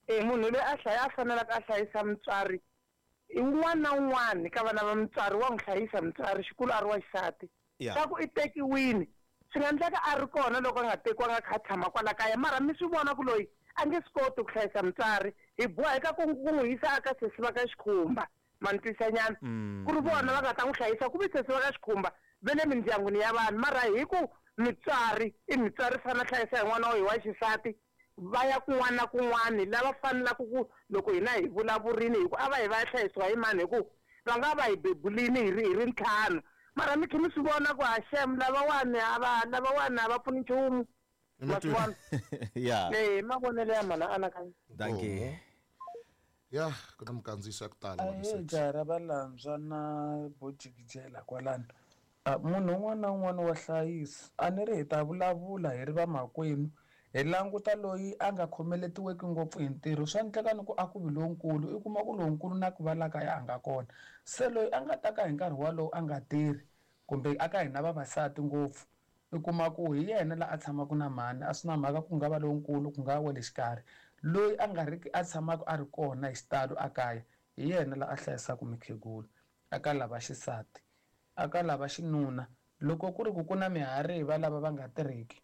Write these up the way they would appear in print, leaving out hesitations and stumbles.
E munhu loyi a hlaya a fanelaka a hlayisa mutswari i wun'wana na wun'wana ka vana va mutswari wa n'wi hlayisa mutswari xikulu a ri wa xisati. Swa ku i tekiwini swi nga endleka a ri kona loko a nga tekiwanga a kha a tshama kwala kaya mara mi swi vona ku loyi a nge swi koti ku hlayisa mutswari hi boheka ku ku n'wi yisa aka sesi va ka Xikhumba ma ni twisisa nyana ku ri vona va nga ta n'wi hlayisa ku ve sesi va ka Xikhumba va le mindyangwini ya vanhu mara hi ku mutswari i mutswari fanele a hlayisa hi n'wana wa hi wa xisati va ya kun'wana na kun'wana lava fanelaka ku loko hina hi vulavurini hi ku a va yi va ya hlayisiwa hi mani hi ku va nga va hi bebulini hi ri hi ri ntlhanu mara mi khe mi swi vona ku ha xem lavawani a va lavawani a va pfuni nchumu ma swi vona ya e mavonelo ya mhana anakanya dankie ya ku na mikandziyiso ya ku tala Ahee jaha ra valandzwa na bojikijela kwalano Munhu un'wana na un'wana wa hlayisa. A ni ri hi ta vulavula hi ri vamakwenu, hi languta loyi a nga khomeletiweki ngopfu hi ntirho. Swa endleka ni ku a ku vi lonkulu, i kuma ku lonkulu na ku va la kaya a nga kona. Se loyi a nga ta ka hi nkarhi wolowo a nga tirhi, kumbe a ka hina vavasati ngopfu, i kuma ku hi yena la a tshamaka na mhani, a swi na mhaka ku nga va lonkulu, ku nga va wa le xikarhi. Loyi a nga riki a tshamaka a ri kona hi xitalo ekaya, hi yena la a hlayisaka mukhegula. Eka lava xisati. Aka lava xinuna, loko ku ri ku ku na mihariva lava va nga tirhiki,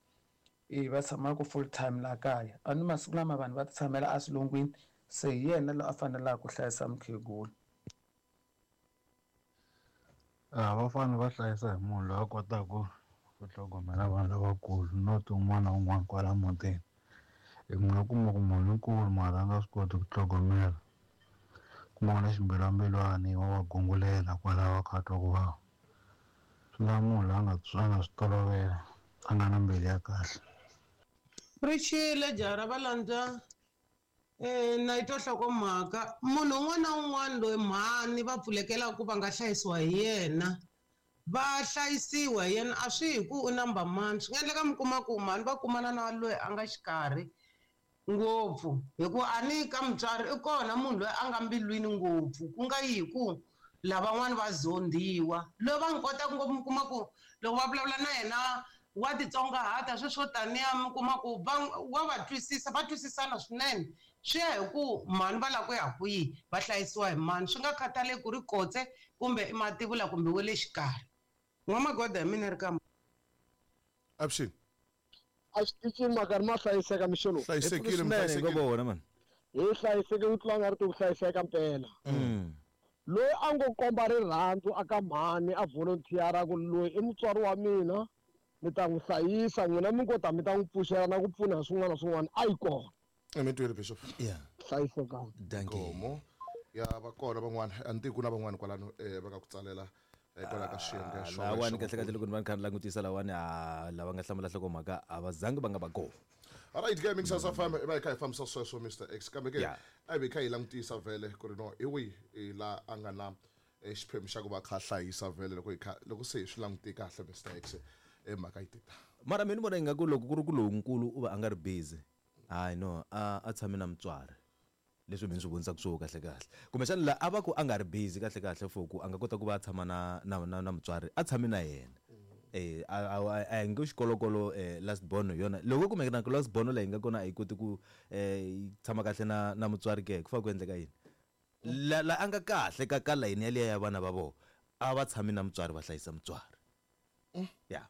e va tshamaka full time laha kaya. A ni masiku lama vanhu va ti tshamela eswilungwini, se hi yena loyi a fanelaka ku hlayisa mukhegula. A va fanele va hlayisa hi munhu loyi a kotaka ku tlhogomela vanhu lavakulu not un'wana na un'wana kwala mutini. Hi ku nga kuma ku munhu i nkulu mara a nga swi koti ku tlhogomela. Kuma na ximbilwambilwani wa va gungulela kwalaho a kha a twa ku vava. Swi lava munhu loyi a nga a nga swi tolovela a nga na mbilu ya kahle. Ri xile jaha ra valandza na yi twa nhlokomhaka munhu un'wana na un'wana loyi mhani va pfulekelaka ku va nga hlayisiwa hi yena va hlayisiwa hi yena a swi hi ku u number mani swi nga endleka mi kuma ku mhani va kumana na loyi a nga xikarhi ngopfu hi ku a ni ka mutswari i kona munhu loyi a nga mbilwini ngopfu ku nga yi hi ku lavan'wana va zondhiwa loyi va n'wi kotaka ngopfu mi kuma ku loko va vulavula na yena wa titsongahata sweswo taniya mi kuma ku va wa va twisisa va twisisana swinene swi ya hi ku mhani va lava ku ya kwihi va hlayisiwa hi mani swi nga khathaleki ku ri kotse kumbe i mativula kumbe wa le xikarhi n'wamagoda hi mina ri ka Avuxeni. A xitichini makarhi ma hlayiseka mixo lowu. Hlayisekile mi Swinene hlayisekile. ngo vona mani. Hi hlayiseke ku tlula nga ri ku hlayiseka mpela. Loyi a ngo komba rirhandzu aka mhani a volunteer ku loyi i mutswari wa mina ni ta n'wi hlayisa n'wina mi ngo ta mi ta n'wi pfuxela na ku pfuna hi swin'wana na swin'wana a yi kona. Mi twile bishop. Yeah. Hlayisekani. Dankie. Nkomo. Ya va kona van'wana a ni tivi ku na van'wana kwalano va nga ku tsalela hikwalaho ka xiyenge Ah, xo lawani kahle kahle loko ni va ni kha ni langutisa lawani a lava nga hlamula nhlokomhaka a va zangi va nga va kona. Alright ke Mixers FM i va hi kha hi fambisa sweswo Mr X kambe ke Yeah. a hi vi hi kha hi langutisa vhele ku ri no hi wihi hi la a nga na eh, xiphemu xa ku va a kha a hlayisa vhele loko hi kha loko se hi swi langute kahle Mr X eh, mhaka yi tita Mara mina ni vona ingaku loko ku ri ku lonkulu u va a nga ri busy hayi no a a tshame na mutswari leswi mi swi vonisaka swo kahle kahle kumbexana la a va ku a nga ri busy kahle kahle for ku a nga kota ku va a tshama na na na, na mutswari a tshame na yena eh a a a hi nge xikolokolo eh last born hi yona loko kumbe na last born leyi nga kona a yi koti ku eh yi tshama kahle na na mutswari ke ku fanele ku endleka yini la la a nga kahle ka ka layini yaliya ya vana va vona a va tshami na mutswari va hlayisa mutswari ya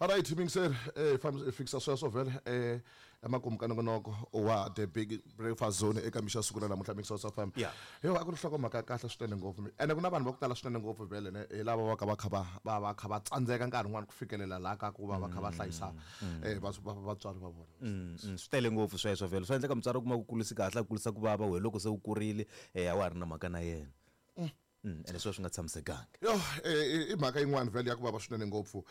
Alright mingiseri eh hi fikisa sweswo vhele eh emakumu ka nongonoko wa the big breakfast zone eka mixo ya siku ra namuntlha Mixers FM. Yeah. Yo a ku ri nhlokomhaka ya kahle swinene ngopfu ene ku na vanhu va ku tala swinene ngopfu vhele ne hi lava va ka va kha va va va kha va tsandzeka nkarhi wun'wani ku fikelela laha ka ku va va kha va hlayisa eh vatswari va vona. Swi tele ngopfu sweswo vhele swa endleka mutswari u kuma ku kulisi kahle a kulisa ku vava wehe loko se u kurile eh a wa ha ri na mhaka na yena. Ene sweswo swi nga tshamisekangi. Yo i mhaka yin'wana vhele ya ku vava swinene ngopfu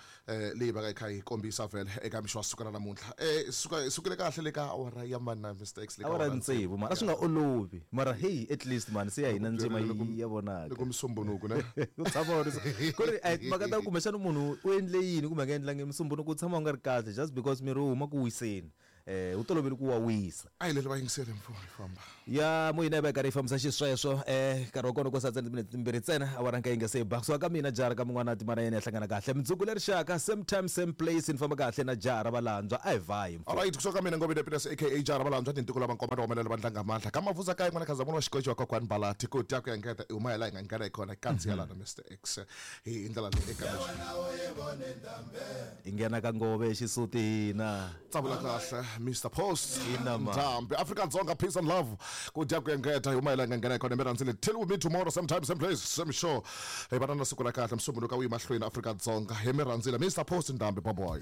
leyi va ka yi kha yi kombisa vhele eka mixo wa siku ra namuntlha. Suka hi sukile kahle le ka awara ya mani na Mr X le ka Awara ya tsevu mara a swi nga olovi mara hey at least mani se ya hina ndzima ya vonaka. Loko musumbunuku ne. U tshama u ri ku ri a timhaka ta kumbexana munhu u endle yini kumbe a nga endlangi musumbunuku u tshama u nga ri kahle just because miri wu huma ku wiseni. Wu tolovele ku wa wisa. A hi leli vayingiseri mfumo hi famba. Ya moyeni a va yi karhi yi fambisa xisweswo nkarhi wa kona ko sala timinete timbirhi ntsena awara nka yi nga se ba. Kusuka ka mina jara ka mun'wana timana yena ya hlangana kahle mundzuku leri xaka same time same place ni famba kahle na jara valandzwa a hi vhayi mfo. Alright, kusuka ka mina Ngobeni Peters aka Jara Valandzwa tintiko lava nkomba ti humelela vandla nga mandla ka mavuza ka yin'wana khaza munhu wa xikoxi wa kokwani Balati ku dya ku ya ngeta i huma hi laha hi nga nghena hi kona kandziya lana Mr X hi ndlela leyi eka leswi Hi nghena ka ngove xisuti hina. Tsavula kahle Mr Post. Ina ma. Ndhambi Afrika Dzonga peace and love ku dya ku engeta hi huma hi laha hi nga nghena hi kona mi rhandzile till we meet tomorrow same time same place same show hi vana na siku ra kahle msumbuluka wu yi mahlweni Afrika Dzonga hi mi rhandzile Mr Post Ndhambi bye bye.